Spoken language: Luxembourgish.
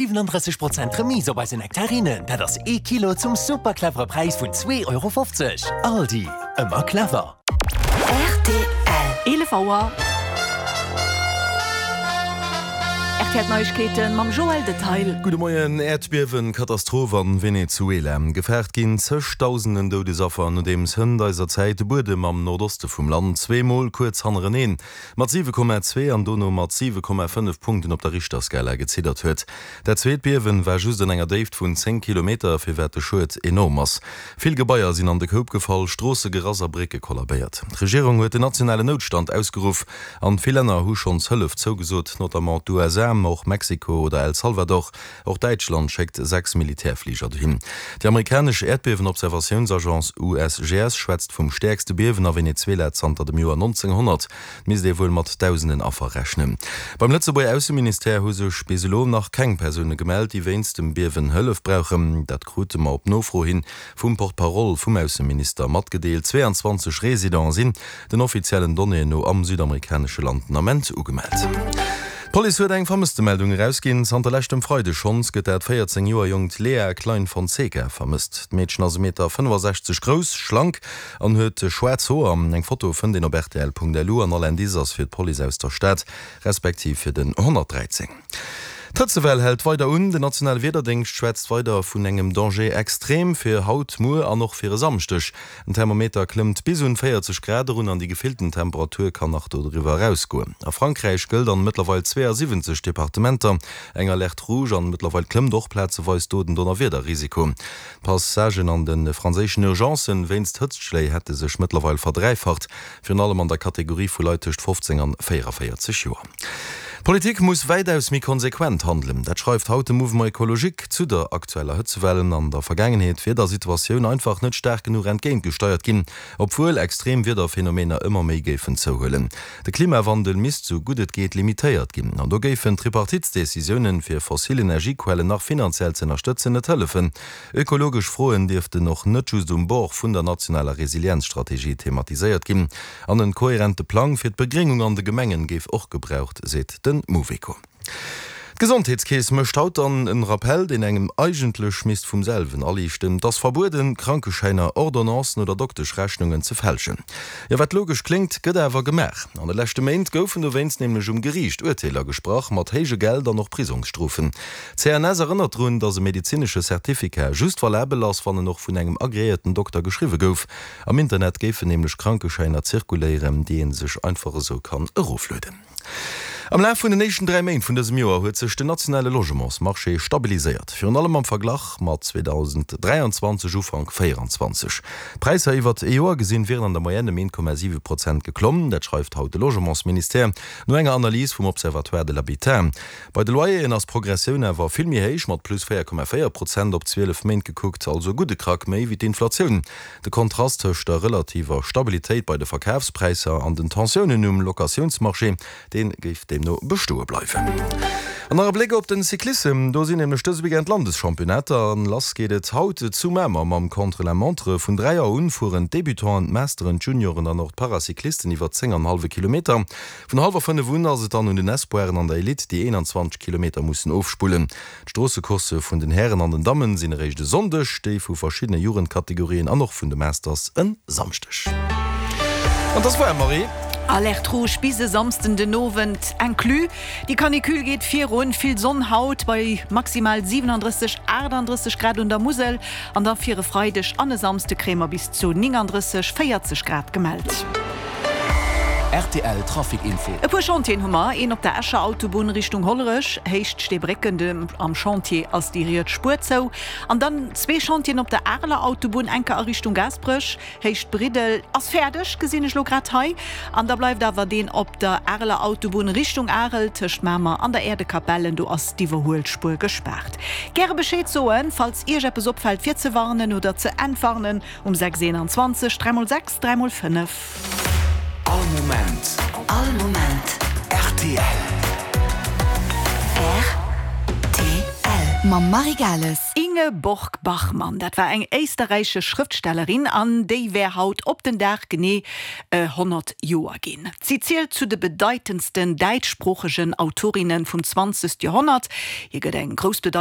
37 Prozent Remise op eise Nektarinen, dat ass ee Kilo zum super clevere Präis vun 2,50 Euro. Aldi, ëmmer clever. Rtl. 11 Auer. RTL Neiegkeeten mam Joël Detail. Gudde Moien. Äerdbiewen, Katastroph an Venezuela. Gefaart ginn zëchdausenden Doudesaffer, nodeems hënt eiser Zäit de Buedem am Nordoste vum Land zweemol kuerz hannereneen mat 7,2 an dono mat 7,5 Punkten op der Richterskala geziddert huet. Dat zweet Biewen war just an enger Déift vun 10 Kilometer, firwat de Schued enorm ass. Vill Gebaier sinn an de Koup gefall, Stroosse gerass a Brécke kollabéiert. D'Regierung huet den nationalen Noutstand ausgeruff an vill Länner hu schonns Hëllef zougesot, notamment d'USA, ma och Mexiko oder El Salvador. Och Däitschland schéckt 6 Militärfliger dohin. Déi amerikanesch Äerdbiewenobservatiounsagence USGS schwätzt vum stäerkste Biewen a Venezuela zanter dem Joer 1900. Et misst ee wuel mat dausenden Affer rechnen. Beim Lëtzebuerger Ausseministère hu sech bis elo nach keng Persoune gemellt, déi wéinst dem Biewen Hëllef brauchen. Dat krute mer op Nofro hin vum Porte-parole vum Ausseminister matgedeelt. 22 Residente sinn den offiziellen Donnéeën no am südamerikanesche Land den Ament ugemellt. D'Police huet eng Vermësstemeldung erausginn. Zanter leschtem Freideg schonns gëtt dat 14 Joer jonkt Lea Klein Fonseca vermësst. D'Meedchen ass e Meter 65 grouss, schlank an huet schwaarz Hoer. Eng Foto fënnt een op rtl.lu an all Indice ass fir d'Police aus der Stad, respektiv fir den 113. D'Hëtzewell hält weider un. Den nationale Wiederdéngscht schwätzt weider vun engem Danger extrême fir haut, muer an och fir e Samschdeg. Den Thermometer klëmmt bis un 40 Grad erun an déi gefillten Temperatur kann nach dodriwwer erausgoen. A Frankräich gëllt an mëttlerweil 72 Departementer eng Alerte rouge an mëttlerweil klëmmt och plazeweis do den Donnerwiederrisiko. D'Passagen an de franséischen Urgencen wéinst Hëtztschléi hätte sech mëttlerweil verdräifacht, virun allem an der Kategorie vu Leit tëscht 15 an 44 Joer. D'Politik muss wäitaus méi konsequent handelen. Dat schreift haut de Mouvement Ecologique zu der aktueller Hëtzewell. An der Vergaangenheet wier der Situatioun einfach net staark genuch entgéintgesteiert ginn, obwuel extrem Wiederphenomener ëmmer méi géifen zouhuelen. De Klimawandel misst sou gutt et geet limitéiert ginn. An do géifen d'Tripartitsdecisiounen, fir fossil Energiequellen nach finanziell ze ënnerstëtzen, net hëllefen. Ökologesch Froen dierften och net just um Bord vun der nationaler Resilienzstrategie thematiséiert ginn. An en kohärente Plang fir d'Begréngung an de Gemengen géif och gebraucht, seet de Mouveco. D'Gesondheetskeess mécht haut dann en Rappell, deen engem eigentlech misst vum selwen aliichten, Et ass verbueden, Krankeschäiner, Ordonnancen oder Dokteschrechnungen ze fälschen. Jo, wat logesch kléngt, gëtt awer gemaach. An de leschte Méint goufen dowéinst nämlech um Geriicht Urteeler gesprach, mat héije Geld an och Prisongsstrofen. D'CNS erënnert drun, datt e medezinesche Certificat just valabel ass, wann en och vun engem agreéierten Dokter geschriwwe gouf. Am Internet géifen nämlech Krankeschäiner zirkuléieren, déi ee sech einfach esou kann eroflueden. Am Laf vun den éischten 3 Méint vun dësem Joer huet sech den nationale Logementsmarché stabiliséiert, virun allem am Verglach mat 2023, Ufank 24. D'Präisser iwwert ee Joer gesinn wieren an der Moyenne ëm 1,7 Prozent geklomm. Dat schreift haut de Logementsministère no enger Analys vum Observatoire de l'habitat. Bei de Loyeren ass d'Progressioun awer vill méi héich, mat plus 4,4 Prozent op 12 Méint gekuckt, also e gudde Krack méi wéi d'Inflatioun. De Kontrast tëscht der relativer Stabilitéit bei de Verkafspräisser an den Tensiounen um Locatiounsmarché, dee géif deemno bestoe bleiwen. An nach e Bléck op den Cyclissem, do sinn nämlech dëse Weekend d'Landeschampionnaater an lass geet et haut zu Mamer mam Contre-la-montre. Vun 3 Auer un fueren d'Debutanten, d'Masteren, d'Junioren an och d'Paracyclisten iwwer 10 an hallwe Kilometer. Vun hallwer 5 un ass et dann un den Espoiren an der Elite, déi 21 Kilometer mussen ofspullen. D'Stroossecoursse vun den Hären an den Dammen sinn eréischt e Sonndeg, déi vu verschiddene Jugendkategorien an och vun de Masters en Samschdeg. An 't ass waarm, Marie. Alerte rouge bis e Samsden den Owend inclus. Déi Canicule geet virun, vill Sonn haut bei maximal 37, 38 Grad un der Musel an da fir e Freideg an e Samsde kréie mer bis zu 39, 40 Grad gemellt. Rtl Trafic Info. E puer Chantieren hu mer, een op der Escher Autobunn Richtung Hollerech, Héicht Steebrécken, de am Chantier ass déi riets Spuer zou. An dann zwee Chantieren op der Areler Autobunn, enker a Richtung Gaasperech, Héicht Briddel, ass fäerdeg, gesinn ech lo grad hei. An da bleift awer deen op der Areler Autobunn Richtung Arel, tëscht Mamer an der Äerdekapelle, do ass d'Iwwerhuelspuer gespaart. Gäre Bescheed soen, falls Iech eppes opfält fir ze warnen oder ze entwarnen um 6 21 3 x 6 3 x 5. All Moment. All Moment. Rtl. Rtl. Mam Marie Gales. Ingeborg Bachmann, dat war eng éisterräichesch Schrëftstellerin an déi wär haut op den Dag genee 100 Joer ginn. Si zielt zu de bedeitendsten däitschsproochegen Autorinne vum 20. Joerhonnert. Hir gëtt eng grouss Bedeitung.